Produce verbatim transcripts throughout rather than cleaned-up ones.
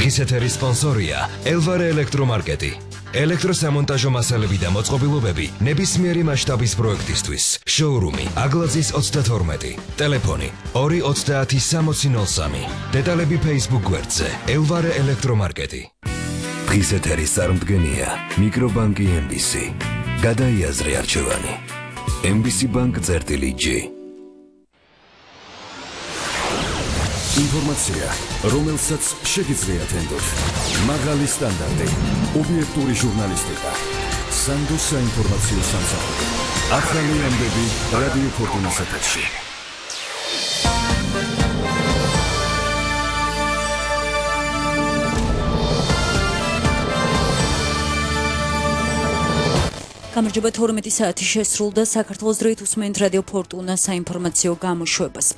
დღის ეთერის სპონსორია ელვარე ელექტრომარკეტი. ელექტროსამონტაჟო მასალები და მოწყობილობები ნებისმიერი მასშტაბის პროექტისთვის. შოურუმი აგლაძის ოცდათორმეტი. ტელეფონი ორი ოცდაათი სამოცი ნოლ სამი. დეტალები Facebook გვერდზე ელვარე ელექტრომარკეტი. დღის ეთერის წარმდგენია მიკრობანკი ემ ბი სი. გადაიაზრე არჩევანი. ემ ბი სი ბანკ წერტილი ჯი. ინფორმაცია, რომელსაც შეგიძლიათ ენდოთ. მაღალი სტანდარტი, ობიექტური ჟურნალისტიკა. სანდოს საინფორმაციო სამსახური. ახალი ამბები რადიო ფორტუნას ეთერში. გამარჯობა, თორმეტი საათი შესრულდა. საქართველოს დროით უსმენთ რადიო ფორტუნას საინფორმაციო გამოშვებას.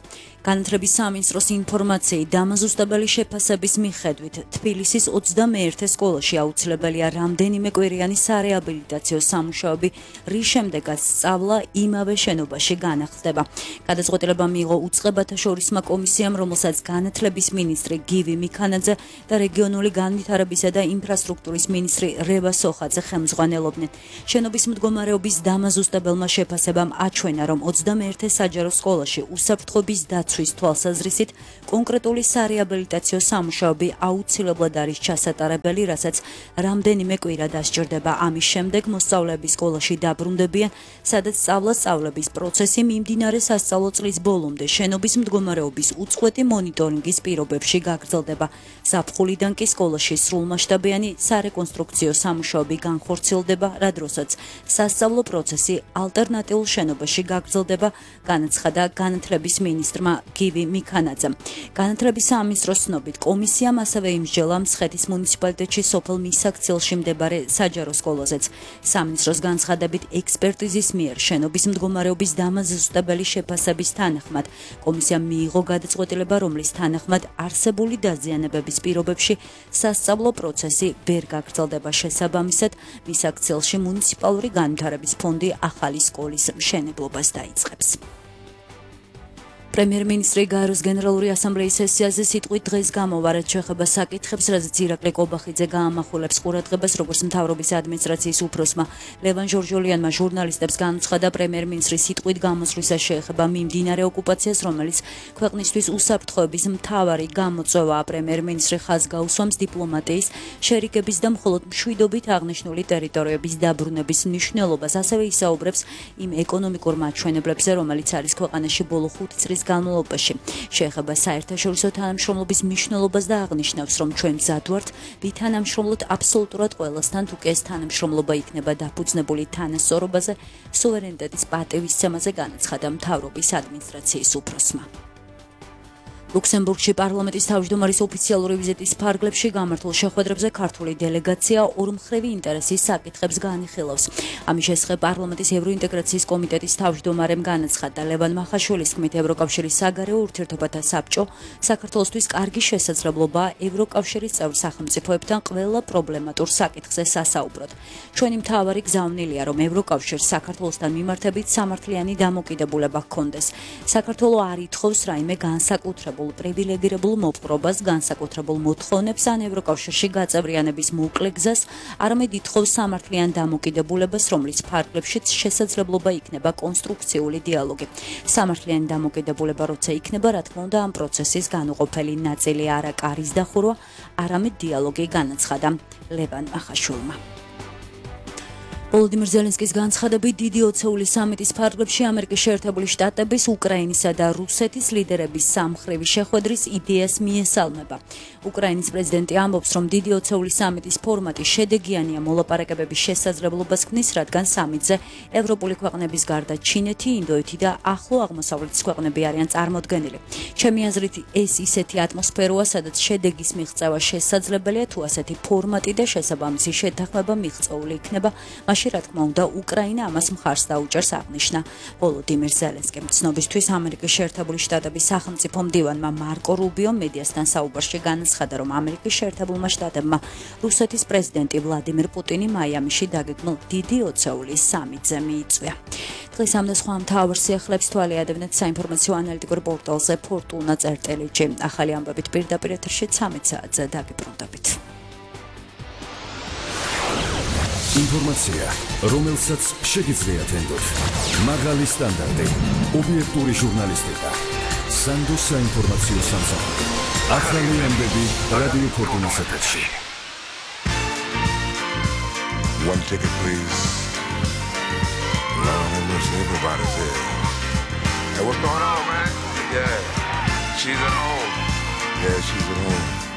განათლების სამინისტროს ინფორმაციით დამაზუსტებელი შეფასების მიხედვით თბილისის ოცდამეერთე სკოლაში აუცილებელია რამდენიმე კვირიანი სარეაბილიტაციო სამუშაოები, რის შემდეგაც სწავლა იმავე შენობაში განახლდება. გადაწყვეტილება მიიღო უწყებათა შორისმა კომისიამ, რომელსაც განათლების მინისტრი გივი მიქანაძე და რეგიონული განვითარებისა და ინფრასტრუქტურის მინისტრი რევა სოხაძე ხელმძღვანელობდნენ. შენობის მდგომარეობის დამაზუსტებელმა შეფასებამ აჩვენა, რომ ოცდამეერთე საჯარო სკოლაში უსაფრთხოების დაცვის თვალსაზრისით კონკრეტული სარეაბილიტაციო სამუშაოები აუცილებლად არის ჩასატარებელი, რასაც რამდენიმე კვირა დასჭირდება. ამის შემდეგ მოსწავლეები სკოლაში დაბრუნდებიან, სადაც სწავლა-სწავლების პროცესი მიმდინარე სასწავლო წლის ბოლომდე შენობის მდგომარეობის უწყვეტი მონიტორინგის პირობებში გაგრძელდება. ზაფხულიდან კი სკოლაში სრულმასშტაბიანი სარეკონსტრუქციო სამუშაოები განხორციელდება, რა დროსაც სასწავლო პროცესი ალტერნატიულ შენობაში გაგრძელდება, განაცხადა განათლების მინისტრმა გივი მიქანაძემ. განათლების სამინისტროს ცნობით, კომისიამ ასევე იმსჯელა მცხეთის მუნიციპალიტეტში სოფელ მისაქცილში მდებარე საჯარო სკოლაზეც. სამინისტროს განცხადებით, ექსპერტიზის მიერ შენობის მდგომარეობის დამაზუსტებელი შეფასების თანახმად კომისიამ მიიღო გადაწყვეტილება, რომლის თანახმად არსებული დაზიანებების პირობებში სასწავლო პროცესი ვერ გაგრძელდება. შესაბამისად, მისაქცილში მუნიციპალური განვითარების ფონდი ახალი სკოლის მშენებლობას დაიწყებს. პრემიერ-მინისტრი გაეროს გენერალური ასამბლეის სესიაზე სიტყვით დღეს გამოვარეთ შეხება საკითხებს, რაზეც ირაკლი კობახიძე გაამახვილებს ყურადღებას, როგორც მთავრობის ადმინისტრაციის უფროსმა ლევან ჟორჟოლიანმა ჟურნალისტებს განუცხადა, პრემიერ-მინისტრის სიტყვით გამოსვლისას შეეხება მიმდინარე ოკუპაციას, რომელიც ქვეყნისთვის უსაფრთხოების მთავარი გამოწვევაა. პრემიერ-მინისტრი ხაზს გაუსვამს დიპლომატიის, შერიგების და მხოლოდ მშვიდობით აღნიშნული ტერიტორიების დაბრუნების მნიშვნელობას, ასევე ისაუბრებს იმ ეკონომიკურ მაჩვენებლებზე, რომელიც არის ქვეყანაში ბოლო ხუთი წლის განმავლობაში. შეეხება საერთაშორისო თანამშრომლობის მნიშვნელობას და აღნიშნავს, რომ ჩვენ მზად ვართ ვითანამშრომლოთ აბსოლუტურად ყველასთან, თუ კი ეს თანამშრომლობა იქნება დაფუძნებული თანასწორობაზე, სუვერენიტეტის პატივისცემაზე, განაცხადა მთავრობის ადმინისტრაციის უფროსმა. ლუქსემბურგში პარლამენტის თავმჯდომარის ოფიციალური ვიზიტის ფარგლებში გამართულ შეხვედრებზე ქართული დელეგაცია ორმხრივი ინტერესის საკითხებს განიხილავს. ამის შესახებ პარლამენტის ევროინტეგრაციის კომიტეტის თავმჯდომარემ განაცხადა, ლევან მახაშვილის თქმით, ევროკავშირის საგარეო ურთიერთობათა საბჭო საქართველოსთვის კარგი შესაძლებლობაა ევროკავშირის წევრ სახელმწიფოებთან ყველა პრობლემატურ საკითხზე სასაუბროდ. ჩვენი მთავარი გზავნილია, რომ ევროკავშირს საქართველოსთან მიმართებით სამართლიანი დამოკიდებულება ჰქონდეს. საქართველო არ ითხოვს რაიმე განსაკუთრებულ პრივილეგირებულ მოპყრობას, განსაკუთრებულ მოთხოვნებს ან ევროკავშირში გაწევრიანების მოკლე გზას, არამედ ითხოვს სამართლიან დამოკიდებულებას, რომლის ფარგლებშიც შესაძლებლობა იქნება კონსტრუქციული დიალოგი. სამართლიანი დამოკიდებულება როცა იქნება, რა თქმა უნდა, ამ პროცესის განუყოფელი ნაწილი არა კარის დახურვა, არამედ დიალოგი, განაცხადა ლევან მახაშვილმა. ვოლოდიმირ ზელენსკის განცხადებით, დიდი ოცეული სამიტის ფარგლებში ამერიკის შეერთებული შტატების, უკრაინისა და რუსეთის ლიდერების სამხრივი შეხვედრის იდეას მიესალმება. უკრაინის პრეზიდენტი ამბობს, რომ დიდი ოცეული სამიტის ფორმატი შედეგიანია მოლაპარაკებების შესაძლებლობას ქმნის, რადგან სამიტზე ევროპული ქვეყნების გარდა ჩინეთი, ინდოეთი და ახლო აღმოსავლეთის ქვეყნები არიან წარმოდგენილი. ჩემი აზრით, ეს ისეთი ატმოსფეროა, სადაც შედეგის მიღწევა შესაძლებელია, თუ ასეთი ფორმატი და შესაბამისი შეთანხმება მიღწეული იქნება. მიღებაში, რა თქმა უნდა, უკრაინა ამას მხარს დაუჭერს, აღნიშნა ვოლოდიმირ ზელენსკიმ. ცნობისთვის ამერიკის შეერთებული შტატების სახელმწიფო მდივანმა მარკო რუბიო მედიასთან საუბარში განაცხადა, რომ ამერიკის შეერთებულმა შტატებმა რუსეთის პრეზიდენტი ვლადიმირ პუტინი მაიამიში დაგეგმილ დიდი ოცეულის სამიტზე მიიწვია. დღეს ამ და სხვა მთავარ სიახლეებს თვალი ადევნეთ საინფორმაციო ანალიტიკურ პორტალზე ფორტუნა წერტელიჯი. ახალი ამბებით პირდაპირ ეთერში ცამეტ საათზე დაგიბრუნდებით. ინფორმაცია, რომელსაც შეგიძლიათ ენდოთ. მაღალი სტანდარტი, ობიექტური ჟურნალისტიკა. სანდოს საინფორმაციო სამსახური. ახალი ამბები რადიო ფორტუნას ეთერში. One ticket, please. Lord have mercy, everybody's here. Hey, what's going on, man? Yeah, she's at home. Yeah, she's at home.